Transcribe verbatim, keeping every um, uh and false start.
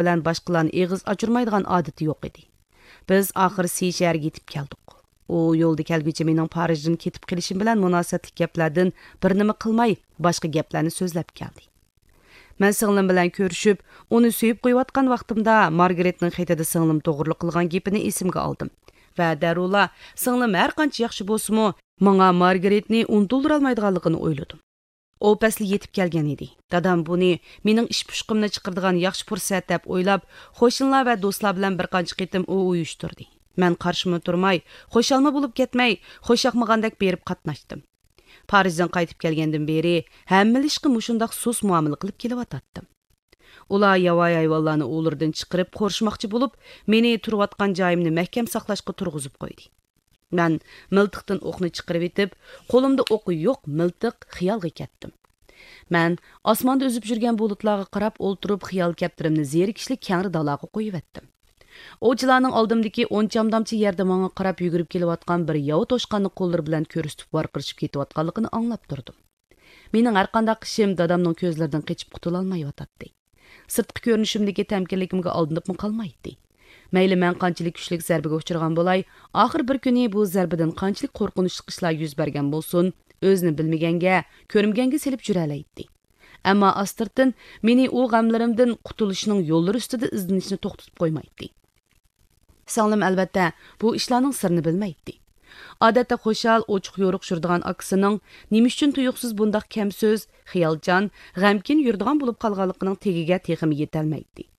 بىلەن باشقىلارنى ئېغىز ئاچۇرمايدىغان ئادىتى يوق ئىدى. بىز ئاخىر سى شەھەرگە يېتىپ كەلدۇق. ئۇ يولدا كەلگۈچە مېنىڭ پارىژدىن كېتىپ قېلىشىم بىلەن مۇناسىۋەتلىك گەپلەردىن بىر نېمە قىلماي، باشقا گەپلەرنى سۆزلەپ كەلدى. مەن سىڭلىم بىلەن كۆرۈشۈپ، ئۇنى سۆيۈپ قويۇۋاتقان ۋاقتىمدا، مارگرېتنىڭ خېتىدە سىڭلىم توغرۇلۇق قىلغان گېپىنى ئېسىمگە ئالدىم ۋە دەررۇلا سىڭلىم ھەر قانچە ياخشى بولسىمۇ، ماڭا مارگرېتنى ئۇنتۇلدۇرالمايدىغانلىقىنى ئويلىدىم. ئۇ پەسلى يېتىپ كەلگەن ئىدى. دادام بۇنى مېنىڭ ئىش پۇشقىمنى چىقىرىدىغان ياخشى پۇرسەت دەپ ئويلاپ، قوشنىلار ۋە دوستلار بىلەن بىر قانچە قېتىم ئۇ ئۇيۇشتۇردى. مەن قارشىمۇ تۇرماي، خۇشالمۇ بولۇپ كەتمەي، خۇشياقمىغاندەك بېرىپ قاتناشتىم. پارىژدىن قايتىپ كەلگەندىن بېرى ھەممىلا ئىشقا مۇشۇنداق سۇس مۇئامىلە قىلىپ كېلىۋاتاتتىم. ئۇلار ياۋايى ھايۋانلارنى ئۇۋىلىرىدىن چىقىرىپ قورشىماقچى بولۇپ، مېنى تۇرۇۋاتقان جايىمنى مەھكەم ساقلاشقا تۇرغۇزۇپ قويدى. مەن مىلتىقتىن ئوقنى چىقىرىۋېتىپ، قولۇمدا ئوقى يوق مىلتىق خىيالغا كەتتىم. مەن ئاسماندا ئۈزۈپ يۈرگەن بۇلۇتلارغا قاراپ ئولتۇرۇپ، خىيال كەپتىرىمنى زېرىكىشلىك كەڭرى دالاغا قويۇۋەتتىم. ئوۋچىلارنىڭ ئالدىمدىكى ئون چامدامچە يەردە ماڭا قاراپ يۈگۈرۈپ كېلىۋاتقان بىر ياۋا توشقاننى قوللىرى بىلەن كۆرسىتىپ ۋارقىرىشىپ كېتىۋاتقانلىقىنى ئاڭلاپ تۇردۇم. مېنىڭ ھەرقانداق ئىشىم دادامنىڭ كۆزلىرىدىن قېچىپ قۇتۇلالمايۋاتاتتى. سىرتقى كۆرۈنۈشۈمدىكى تەمكىنلىكىمگە ئالدىنىپمۇ قالمايتتى. مەيلى مەن قانچىلىك كۈچلۈك زەربىگە ئۇچرىغان بولاي، ئاخىر بىر كۈنى بۇ زەربىدىن قانچىلىك قورقۇنچلۇق ئىشلار يۈز بەرگەن بولسۇن، ئۆزىنى بىلمىگەنگە، كۆرمىگەنگە سېلىپ يۈرەلەيتتى. ئەمما ئاستىرتىن مېنى ئۇ غەملىرىمدىن قۇتۇلۇشنىڭ يوللىرى ئۈستىدە ئىزدىنىشنى توختىتىپ قويمايتتى. سىڭلىم، ئەلۋەتتە، بۇ ئىشلارنىڭ سىرىنى بىلمەيتتى. ئادەتتە خۇشال، ئوچۇق-يورۇق يۈرىدىغان ئاكىسىنىڭ نېمە ئۈچۈن تۇيۇقسىز بۇنداق كەمسۆز، خىيالچان، غەمكىن يۈرىدىغان بولۇپ قالغانلىقىنىڭ تېگىگە تېخىمۇ يېتەلمەيتتى.